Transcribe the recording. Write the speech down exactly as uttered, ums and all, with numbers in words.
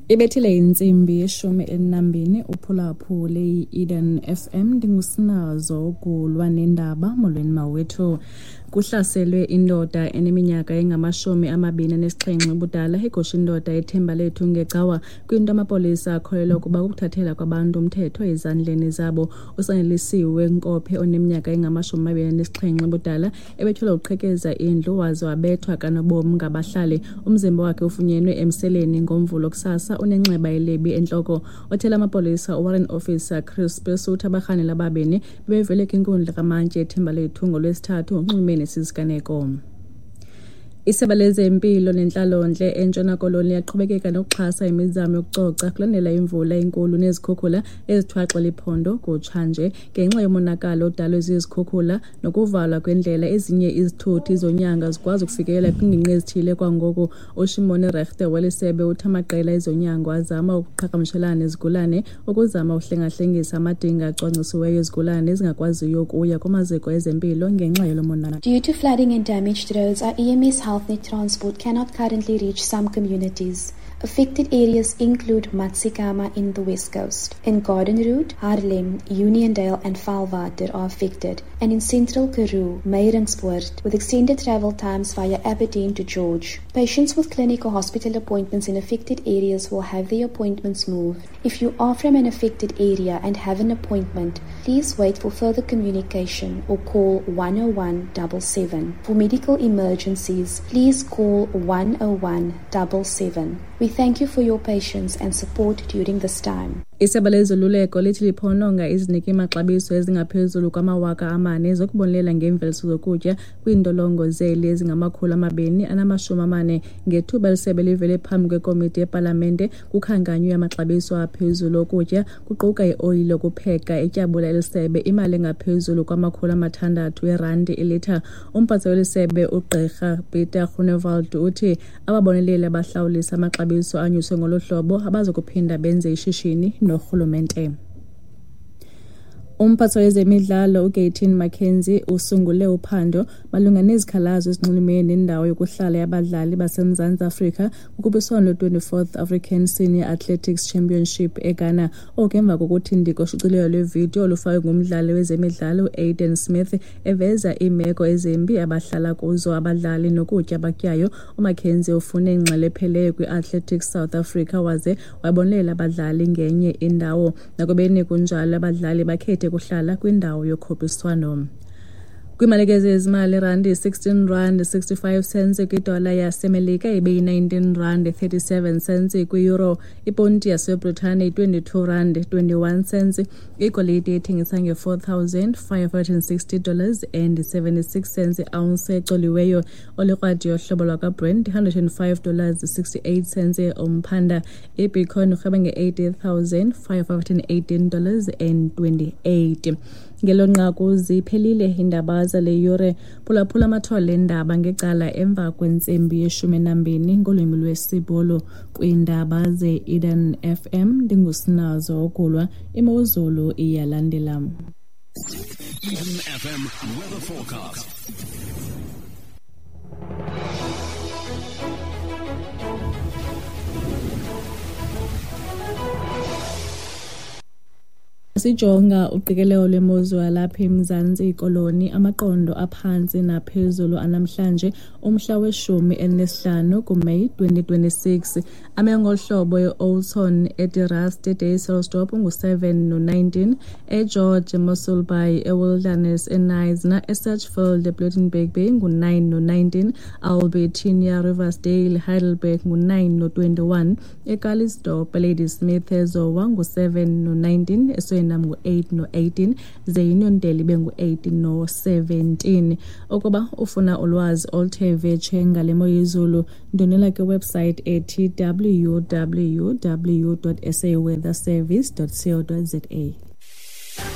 Ibethile intsimbi yeshumi elinambini uphulaphule i-Eden F M. Ndingusinazo ukulwa nendaba. Molweni mawethu. Kuhlaselwe indoda eneminyaka engamashumi amabini anesixhenxe ubudala egosha indoda eThembalethu ngecawa kwinto amapolisa akholelwa ukuba kukuthathela kwabantu umthetho ezandleni zabo. Usanelisiwe Nkophe oneminyaka engamashumi amabini anesixhenxe ubudala ebetyholwa ukuqhekeza indlu waze wabethwa kanobomi ngabahlali. Umzimba wakhe ufunyenwe emseleni ngoMvulo kusasa unenxeba elibi entloko. Othela amapolisa uWarrant Officer Chris Pesuta abarhanela ababini bebevele kwinkundla kamantyi eThembalethu ngoLwesithathu ngonxulumene sisiganeko. Isebe lezempilo nentlalontle eNtshona Koloni liyaqhubekeka nokuxhasa imizamo yokucoca kulandela imvula enkulu nezikhukhula ezithwaxa liphondo kutshanje. Ngenxa yomonakalo odalwe zizikhukhula nokuvalwa kwendlela, ezinye izithuthi zonyanga zikwazi ukufikelela kwiingingqi ezithile kwangoku. UShimone Rechte weli sebe uthi amaqela ezonyango azama ukuqhagamshelana nezigulane ukuzama ukuhlengahlengisa amadinga acwangcisiweyo ezigulane ezingakwaziyo ukuya kumaziko ezempilo ngenxa yalo monakalo. Due to flooding and damaged roads, our E M S HealthNet transport cannot currently reach some communities. Affected areas include Matsikama in the West Coast. In Garden Route, Haarlem, Uniondale and Vaalwater are affected, and in Central Karoo, Meiringspoort, with extended travel times via Aberdeen to George. Patients with clinic or hospital appointments in affected areas will have their appointments moved. If you are from an affected area and have an appointment, please wait for further communication or call one oh one double seven. For medical emergencies, please call one oh one double seven. We thank you for your patience and support during this time. Isebe lezoluleko lithi liphononga iziniki maxabiso ezingaphezulu kwamawaka amane zokubonelela ngeemveliso zokutya kwiintolongo zeli ezingamakhulu amabini anamashumi amane. Ngethuba lisebe livele phambi kwekomiti yepalamente kukhankanywe amaxabiso aphezulu okutya kuquka ioyile yokupheka etyabula elisebe imali engaphezulu kwamakhulu amathandathu erandi ilitha. Umphatsi welisebe uGqirha Peter Groenewald uthi ababoneleli abahlawulisa amaxabiso anyuswe ngolu hlobo abazokuphinda benze ishishini norhulumente. Umphatsi wezemidlalo uGayton McKenzie usungule uphando malunga nezikhalazo ezinxulumene nendawo yokuhlala yabadlali baseMzantsi Afrika kukhuphiswano lwe-twenty-fourth African Senior Athletics Championship eGhana. Oku emva kokuthi ndiko ushicilelo lwevidiyo olufakwe ngumdlali wezemidlalo uAiden Smith eveza iimeko ezimbi abahlala kuzo abadlali nokutya abakutyayo. UMcKenzie ufune ingxelo epheleyo kwi-Athletics South Africa waze wabonelela abadlali ngenye indawo. Nakubeni kunjalo, abadlali bakhethe kuhlala kwindawo yokhuphiswano. Kwimalike zezimali, irandi sixteen rand sixty-five cents kwidola yaseMelika ibe yi-nineteen rand thirty-seven cents kwi-euro. Iponti yaseBritane twenty-two rand twenty-one cents. Igolide ithengisa nge-four thousand five hundred and sixty dollars and seventy-six cents i-ounce ecoliweyo. Olikrwadi yohlobo lwakwaBrent hundred and five dollars sixty-eight cents umphanda. Ibitcoin irhweba nge-eighty thousand five hundred and eighteen dollars and twenty-eight. Ngelo nqaku ziphelile iindaba zale yure. Phulaphula amathole eendaba ngecala emva kwentsimbi yeshumi nambini ngolwimi lwesiBhulu kwiindaba ze-Eden F M. Ndingusinazo Okulwa. Imozulu iyalandela. Eden F M weather forecast. Sijonga uqikelelo lwemozulu yalapha eMzantsi Koloni, amaqondo aphantsi naphezulu anamhlanje umhla weshumi elinesihlanu kuMeyi twenty twenty-six. Ame ngohlobo e-Oudtshoorn, eDe-Rust, eDysselsdorp ngu-seven no-nineteen, eGeorge, eMossel Bay, eWilderness, eKnysna, eSedgefield, ePlettenberg Bay ngu-nine no-nineteen, Albertinia, Riversdale, Heidelberg ngu-nine no-twenty-one, eCalitzdorp, eLadysmith, eZowa ngu-seven no-nineteen, eSuriname ngu-eight no-eighteen, ze Uniondale ibe ngu-eight no-seventeen. Ukuba ufuna ulwazi oluthe vetshe ngale mo yezulu, ndonela kwiwebsite ethi w w w dot s a weather service dot co dot z a.